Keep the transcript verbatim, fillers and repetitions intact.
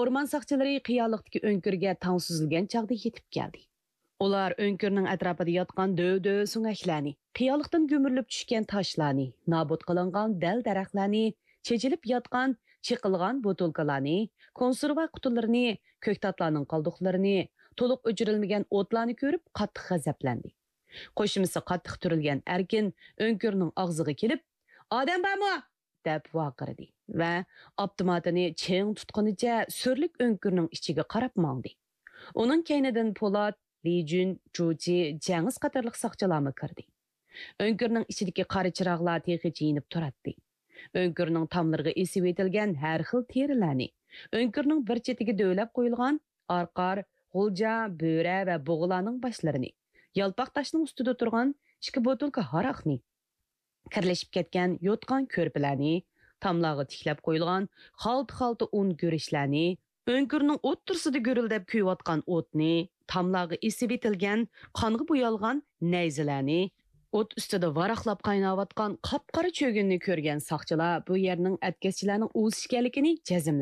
ئورمان ساقچىلىرى قىيالىقتىكى ئۆڭكۈرگە تاڭ سۈزۈلگەن چاغدا يېتىپ كەلدى. ئۇلار ئۆڭكۈرنىڭ ئەتراپىدا ياتقان دۆۋ-دۆۋ سۆڭەكلەرنى، قىيالىقتىن گۈمۈرۈلۈپ چۈشكەن تاشلارنى، نابۇت قىلىنغان دەل-دەرەخلەرنى، چېچىلىپ ياتقان، چېقىلغان بوتۇلكىلارنى، كونسېرۋا قۇتىلىرىنى، كۆكتاتلارنىڭ قالدۇقلىرىنى، تولۇق ئۆچۈرۈلمىگەن ئوتلارنى كۆرۈپ قاتتىق غەزەپلەندى. قوشۇمىسى قاتتىق تۈرۈلگەن ئەركىن ئۆڭكۈرنىڭ ئاغزىغا كېلىپ، «ئادەم بارمۇ؟» دەپ ۋارقىرىدى ۋە ئاپتوماتىنى چىڭ تۇتقىنىچە سۈرلۈك ئۆڭكۈرنىڭ ئىچىگە قاراپ ماڭدى. ئۇنىڭ كەينىدىن پولات، لىجۈن، جۇچى، جەڭىز قاتارلىق ساقچىلارمۇ كىردى. ئۆڭكۈرنىڭ ئىچىدىكى قارا چىراغلار تېخىچە يېنىپ تۇراتتى. ئۆڭكۈرنىڭ تاملىرىغا ئېسىۋېتىلگەن ھەر خىل تېرىلەرنى، ئۆڭكۈرنىڭ بىر چېتىگە دۆۋىلەپ قويۇلغان ئارقار، غۇلجا، بۆرە ۋە بۇغىلارنىڭ باشلىرىنى، يالپاق تاشنىڭ ئۈستىدە تۇرغان ئىككى بوتۇلكا ھاراقنى، كىرلىشىپ كەتكەن يوتقان كۆرپىلەرنى، تاملارغا تىكلەپ قويۇلغان خالتا-خالتا ئۇن گۈرۈچلەرنى، ئۆڭكۈرنىڭ ئوتتۇرىسىدا گۈرۈلدەپ كۆيۈۋاتقان ئوتنى، تاملارغا ئېسىۋېتىلگەن قانغا بويالغان نەيزىلەرنى، ئوت ئۈستىدە ۋاراقلاپ قايناۋاتقان قاپقارا چۆگۈننى كۆرگەن ساقچىلار بۇ يەرنىڭ ئەتكەسچىلەرنىڭ ئۇۋىسى ئىكەنلىكىنى جەزملەپ